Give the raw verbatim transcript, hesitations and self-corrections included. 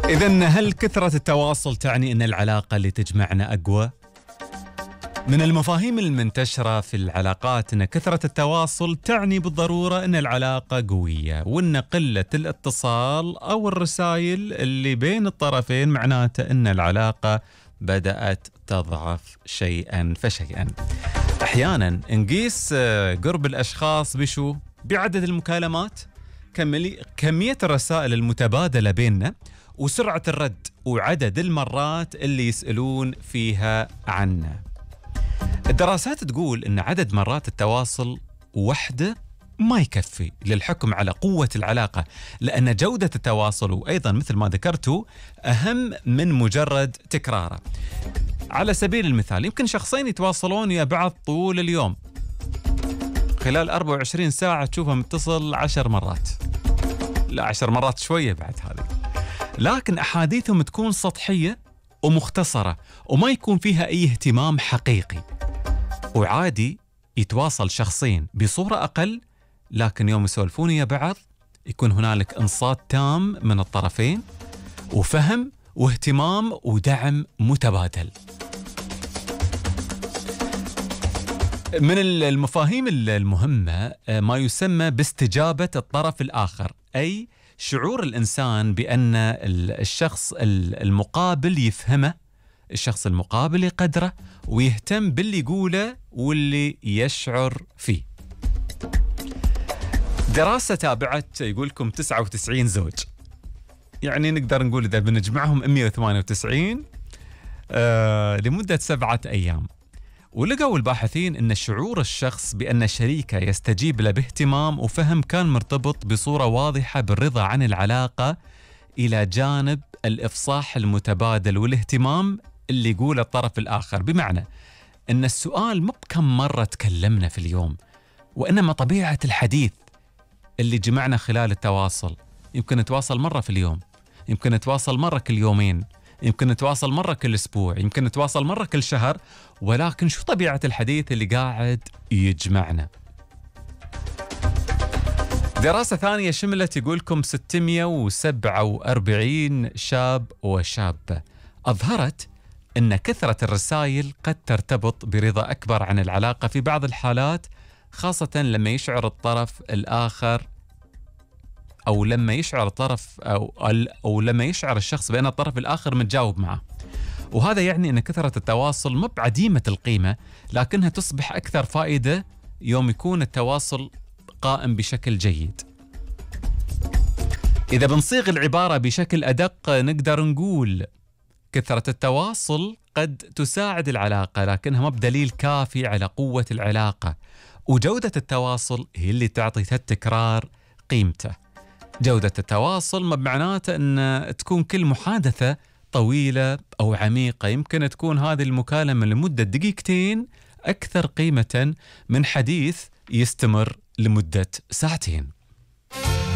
إذن هل كثرة التواصل تعني أن العلاقة اللي تجمعنا أقوى؟ من المفاهيم المنتشرة في العلاقات أن كثرة التواصل تعني بالضرورة أن العلاقة قوية، وأن قلة الاتصال أو الرسائل اللي بين الطرفين معناته أن العلاقة بدأت تضعف شيئا فشيئا. أحيانا نقيس قرب الأشخاص بشو؟ بعدد المكالمات، كمية الرسائل المتبادلة بيننا، وسرعة الرد، وعدد المرات اللي يسألون فيها عنا. الدراسات تقول أن عدد مرات التواصل وحده ما يكفي للحكم على قوة العلاقة، لأن جودة التواصل وأيضا مثل ما ذكرتوا أهم من مجرد تكراره. على سبيل المثال يمكن شخصين يتواصلون ويا بعض طول اليوم، خلال أربعة وعشرين ساعة تشوفه متصل عشر مرات، لا عشر مرات شوية بعد هذه، لكن أحاديثهم تكون سطحية ومختصرة وما يكون فيها أي اهتمام حقيقي. وعادي يتواصل شخصين بصورة أقل، لكن يوم يسولفون يا بعض يكون هنالك إنصات تام من الطرفين، وفهم واهتمام ودعم متبادل. من المفاهيم المهمة ما يسمى باستجابة الطرف الآخر، أي شعور الإنسان بأن الشخص المقابل يفهمه، الشخص المقابل يقدره ويهتم باللي يقوله واللي يشعر فيه. دراسة تابعت يقولكم تسعة وتسعين زوج، يعني نقدر نقول إذا بنجمعهم مئة وثمانية وتسعين آه لمدة سبعة أيام، ولقوا الباحثين أن شعور الشخص بأن شريكه يستجيب له باهتمام وفهم كان مرتبط بصورة واضحة بالرضا عن العلاقة، إلى جانب الإفصاح المتبادل والاهتمام اللي يقول الطرف الآخر. بمعنى أن السؤال مو بكم مرة تكلمنا في اليوم، وإنما طبيعة الحديث اللي جمعنا خلال التواصل. يمكن نتواصل مرة في اليوم، يمكن نتواصل مرة كل يومين، يمكن نتواصل مرة كل أسبوع، يمكن نتواصل مرة كل شهر، ولكن شو طبيعة الحديث اللي قاعد يجمعنا؟ دراسة ثانية شملت يقولكم ستمئة وسبعة وأربعين شاب وشابة، أظهرت أن كثرة الرسائل قد ترتبط برضا أكبر عن العلاقة في بعض الحالات، خاصة لما يشعر الطرف الآخر أو لما يشعر الطرف أو, أو لما يشعر الشخص بأن الطرف الآخر متجاوب معه. وهذا يعني أن كثرة التواصل مو بعديمة القيمة، لكنها تصبح أكثر فائدة يوم يكون التواصل قائم بشكل جيد. إذا بنصيغ العبارة بشكل أدق نقدر نقول كثرة التواصل قد تساعد العلاقة، لكنها ما بدليل كافي على قوة العلاقة، وجودة التواصل هي اللي تعطي التكرار قيمته. جودة التواصل ما بمعناته أن تكون كل محادثة طويلة أو عميقة، يمكن تكون هذه المكالمة لمدة دقيقتين أكثر قيمة من حديث يستمر لمدة ساعتين.